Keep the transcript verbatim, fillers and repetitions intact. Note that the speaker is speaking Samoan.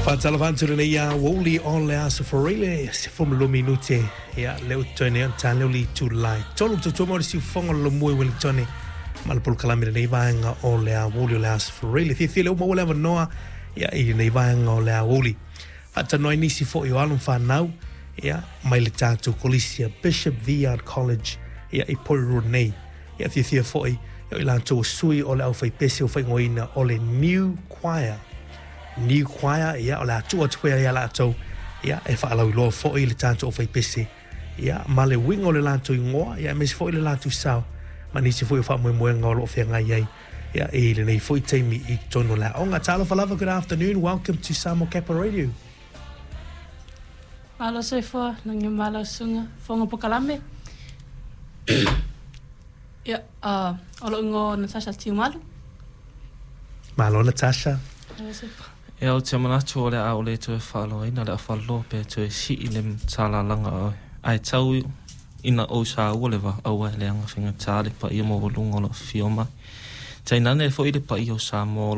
Faatalofa atu lenei aoauli o le Aso Faraile, sefulumalua minute ia lea ua totoe nei ona ta lea o le itula e tolu. Tautua mai o le siufofoga o le lomua i Ueligitone ma le polokalame i lenei vaega o le aoauli o le Aso Faraile. Fiafia lea ua maua le avanoa ia i lenei vaega o le aoauli faatalanoa ai nisi foi o alo ma fanau ia mai le tatou kolisi a Bishop Viard College ia i Porirua nei. Ia fiafia foi o i latou o sui o le aufaipese ua faaigoaina o le New Choir. New Choir, ia o le a tuu atu pea ia latou ia e faalauiloa foi le tatou aufaipese ia ma le uiga o le latou igoa ia aemaise foi le latou sao ma nisi foi o faamoemoega o lo o feagai ai ia i lenei foi taimi i totonu o le aoga. Talofa lava, good afternoon, welcome to Samoa Capital Radio. Malo soifua, lagi malo susuga, fofoga polokalame. Ia, uh, o lou igoa Natasha Tiumalu. Malo Natasha. Malo soifua. Ia ou te manatu o le a ʻaʻole toe faaloaina le afalaloa pe toe sii le talalaga o oe. Ae tau ina ou saua le vaa aua e leaga faigata le paia maualuga o lo o afifio mai. Tainane foi le paia o Samoa o lo